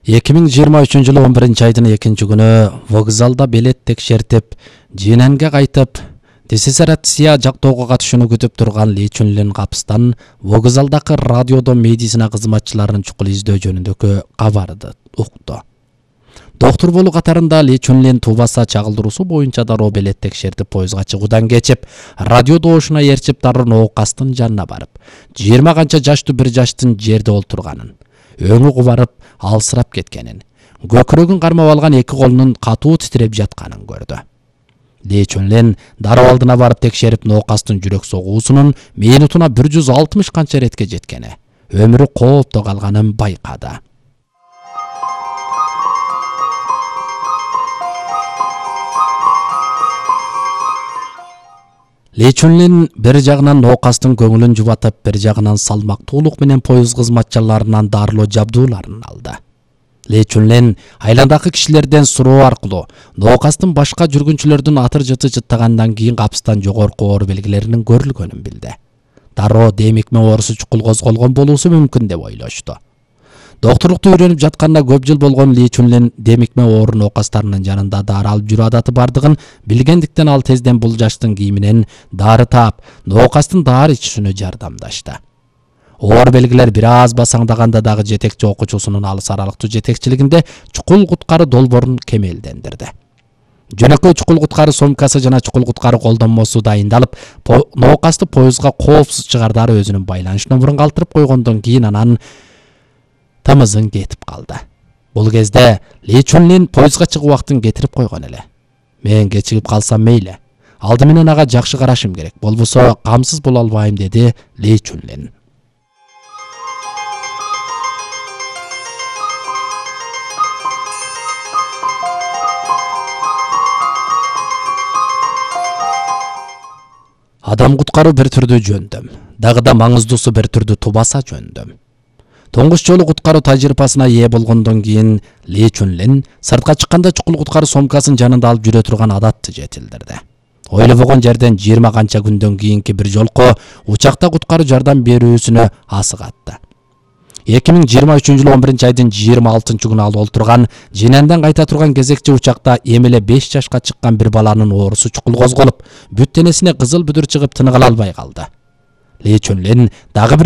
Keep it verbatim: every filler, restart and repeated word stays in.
эки миң жыйырма үчүнчү жылы он биринчи айдын экинчи күнү вокзалда билет текшертип, Жиненге кайтып, диссертация жактоого катышууну күтүп турган Ли Чунлин капыстан вокзалдагы радиодо медицина кызматчыларынын чукул издөө жөнүндөгү кабарды укту. Доктор болуу катарында Ли Чунлин Тубаса чагылдыруусу боюнча дароо билет текшертип поездга чыгуудан кечип, радио доошуна ээрчип дароо ноокастын жанына барып, жыйырма канча жаштуу бир жаштын жерде олтурганын, өңү кубарып, алсырап кеткенин, көкүрөгүн кармап алган эки колунун катуу титиреп жатканын көрдү. Ли Чунлин дароо алдына барып текшерип, ноокастын жүрөк согуусунун минутуна бир жүз алтымыш канча иретке жеткени, өмүрү коопто калганын байкады. Ли Чунлин бир жагынан ноокастын көңүлүн жубатып, бир жагынан салмактуулук менен поезд кызматчыларынан дарылоо жабдууларын алды. Ли Чунлин айландагы кишилерден суроо аркылуу ноокастын башка жүргүнчүлөрдүн атыр жыты жыттагандан кийин капыстан жогорку оор белгилеринин көрүлгөнүн билди. Дароо демикме оорусу чукул козголгон болуусу мүмкүн деп ойлошту. Докторлукту үйрөнүп жатканына көп жыл болгон Ли Чунлин демикме оору ноокастарынын жанында дары алып жүрүү адаты бардыгын билгендиктен ал тезден бул жаштын кийиминен дары таап, ноокастын дары ичүүсүнө жардамдашты. Оор белгилер бир аз басаңдаганда дагы жетекчи окуучусунун алыс аралыктуу жетекчилигинде чукул куткары долбоорун кемелдендирди. Жөнөкөй чукул куткары сумкасы жана чукул куткары колдонмосу дайындалып, по ноокасты поездга коопсуз чыгардары өзүнүн байланыш номерун калтырып койгондон кийин анан тамызын кетип калды. Бул кезде Ли Чунлин поездга чыгуу убактын кетирип койгон эле. Мен кечигип калсам мейли. Алды менен ага жакшы карашым керек. Болбосо камсыз боло албайм, деди Ли Чунлин. Адам куткаруу бир түрдүү жөндөм, дагы да маңыздуусу бир түрдүү Тубаса жөндөм. Тоңгуч жолу куткаруу тажрыйбасына ээ болгондон кийин Ли Чунлин сыртка чыкканда чукул куткаруу сумкасын жанында алып жүрө турган адатты жетилдирди. Ойлобогон жерден жыйырма канча күндөн кийинки бир жолку учакта куткаруу жардам берүүсүнө асыгатты. эки миң жыйырма үчүнчү жылы он биринчи айдын жыйырма алтынчы күнү ал олтурган Жиненден кайта турган кезекчи учакта эми эле беш жашка чыккан бир баланын оорусу чукул козголуп, бүт денесине кызыл бүдүр чыгып тыныгыла албай калды. Ли Чунлин дагы бир